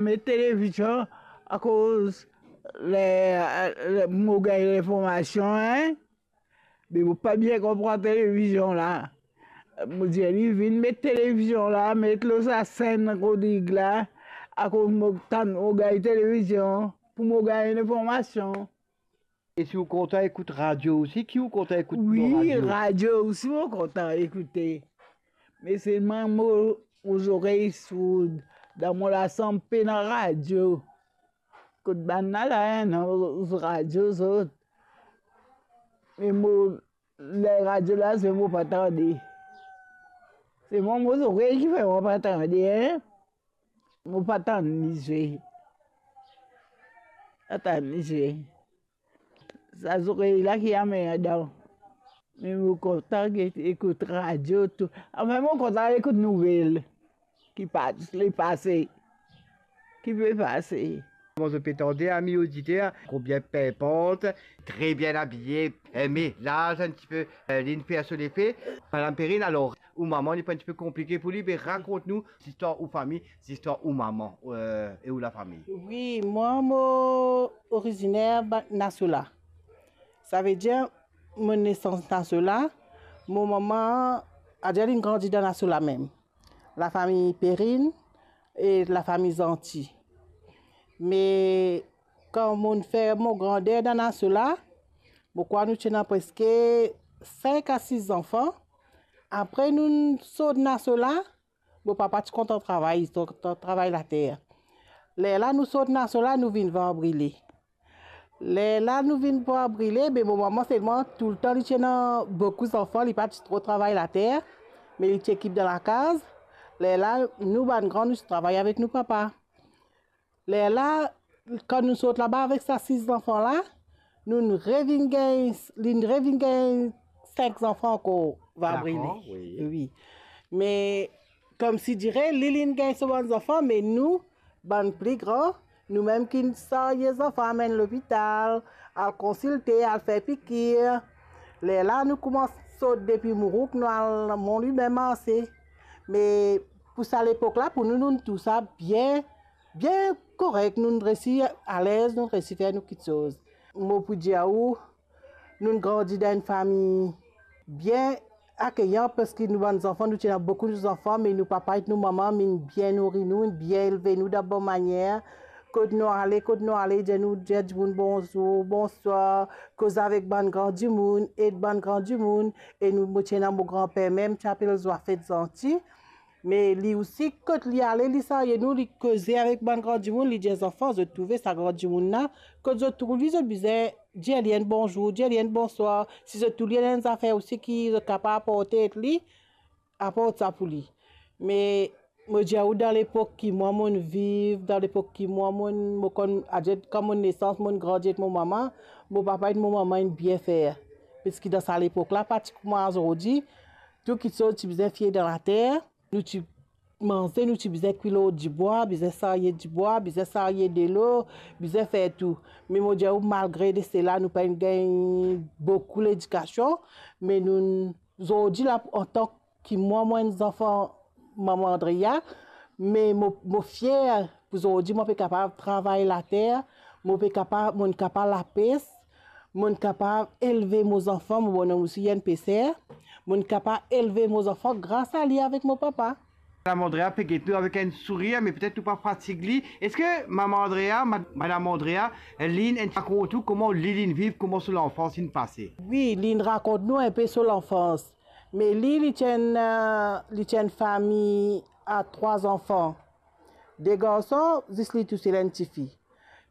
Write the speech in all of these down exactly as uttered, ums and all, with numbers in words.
Met televizion akoz le, le, mo gagn linformasion, en. Me mo pa bien konpran televizion la. Mo dir li vinn met televizion la, met lor sa senn Rodrig la, akoz mo tann, mo gagn televizion pou mo gagn linformasion. E si ou kontan ekout radio osi, ki ou kontan ekout lor radio? Wi, radio osi mo kontan ekoute. Me selman mo, mo zorey sourd, dan mo lasanm pena radio. Kot bann la, la ena radio zot. Me mo, ler radio la zwe, mo pa tande. Se mo, mo zorey ki fer mo pa tande, en. Mo pa tann li zwe. Pa tann li zwe. Sa zorey la ki amer dan. Me mo kontan get-, ekout radio tou. Anfin, mo kontan ekout nouvel ki pa-, le pase, ki pe pase. Kouma zot pe tande, ami oditer, konbien pinpant, tre bien abiye, eh, me laz enn tipe, eh, linn fer so lefe. Madam Perrine, alor, ou mama, li pou enn tipe konplike pou li, me rakont nou zistwar ou fami, zistwar ou mama, eh, e ou lafami. Wi, mwa, mo oriziner ba-, Nasola. Savedir, mo nesans Nasola, mo mama, adir linn grandi dan Nasola mem. Lafami Perrine e lafami Zanti. Me kan mo'nn fer mo grander dan Nasola, mo krwar nou ti ena preske sink a sis zanfan. Apre nou'nn sort Nasola, mo papa ti kontan travay, ti kontan travay later. Lerla nou sort Nasola, nou vinn Var Brile. Lerla nou vinn Var Brile, be mo mama selman toultan li ti ena boukou zanfan, li pa ti tro travay later, me li ti ekip dan lakaz. Lerla nou bann gran, nou ti travay avek nou papa. Lerla, kan nou sort laba avek sa sis zanfan la, nou revinn gagn, linn revinn gagn sink zanfan ankor, Var Brile. Dakor, wi. Wi. Me, koumsidire, li, linn gagn so bann zanfan, me nou, bann pli gran, nou mem ki sarye zanfan, amenn lopital, al konsilte, al fer pikir. Lerla nou koumans sort depi Mourouk, nou al Monlwi, mem marse. Me pou sa lepok la, pou nou, nou trouv sa bien, bien korek, nou resi alez, nou resi fer nou kiksoz. Mo pou dir ou, nou grandi dan enn fami bien akeyan, parski nou bann zanfan, nou ti ena boukou zanfan, me nou papa ek nou mama, inn bien nouri nou, inn bien elve nou dan bon manier. Kot nou ale, kot nou ale, dir nou, dir dimoun bonzour, bonswar, koz avek bann gran dimoun, ed bann gran dimoun, e nou, mo ti ena mo granper mem, ti apel Zwafet Zanti. Me li osi, kot li ale, li sarye nou, li koze avek bann gran dimoun, li dir zanfan, zot trouve sa gran dimoun la, kot zot trouv li, zot bizin dir li enn bonzour, dir li enn bonswar. Si zot trouv li ena enn zafer osi ki zot kapav aporte ek li, aport sa pou li. Me mo dir ou, dan lepok ki mwa mo'nn viv, dan lepok ki mwa mo'nn, mo konn, adir kan mo nesans, mo'nn grandi ek mo mama, mo papa ek mo mama inn bien fer. Parski dan sa lepok la, pa ti kouma zordi, tou kiksoz ti bizin fir dan later. Nou ti manze, nou ti bizin kwi lor dibwa, bizin sarye dibwa, bizin sarye delo, bizin fer tou. Me mo dir ou, malgre de sela, nou pa'nn gagn boukou ledikasion, me nou, zordi la, antan ki mwa, mo enn zanfan mama Andrea, me mo, mo fier pou zordi, mo pe kapav travay later, mo pe kapav, mo'nn kapav lapes, mo'nn kapav elve mo zanfan, mo bonom osi enn peser, mo'nn kapav elve mo zanfan gras a li avek mo papa. Madam Andrea pe get nou avek enn sourir, me petet nou pa fatig li. Eski mama Andrea, mad-, madam Andrea, linn rakont ou kouma li, linn viv, kouma so lanfans inn pase? Wi, linn rakont nou enpe so lanfans. Me li, li ti enn, eh, li ti enn fami a trwa zanfan. De garson, zis li tousel enn tifi.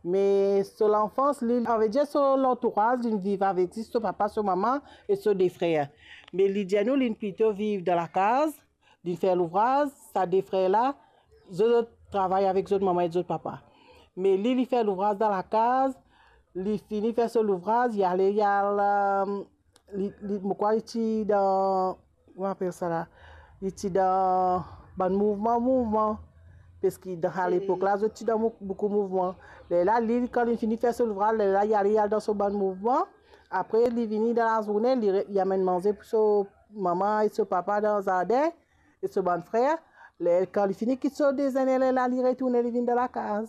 Me so lanfans, li, savedir so lantouraz, linn viv avek zis so papa, so mama e so de frer. Me li dir nou, linn plito viv dan lakaz, linn fer louvraz, sa de frer la, zot, zot travay avek zot mama ek zot papa. Me li, li fer louvraz dan lakaz, li fini fer so louvraz, li ale, li al, eh, li, li, mo krwar li ti dan, kouma apel sa la? Li ti dan bann mouvman, mouvman. Parski dan sa lepok la, zot ti dan mou-, boukou mouvman. Lerla, li, kan li fini fer so louvraz, lerla, li ale, li al dan so bann mouvman. Apre, li vini dan lazourne, li re-, li amenn manze pou so mama e so papa dan zardin, e so bann frer. Ler kan li fini kit so dezene, lerla li retourne, li vinn dan lakaz.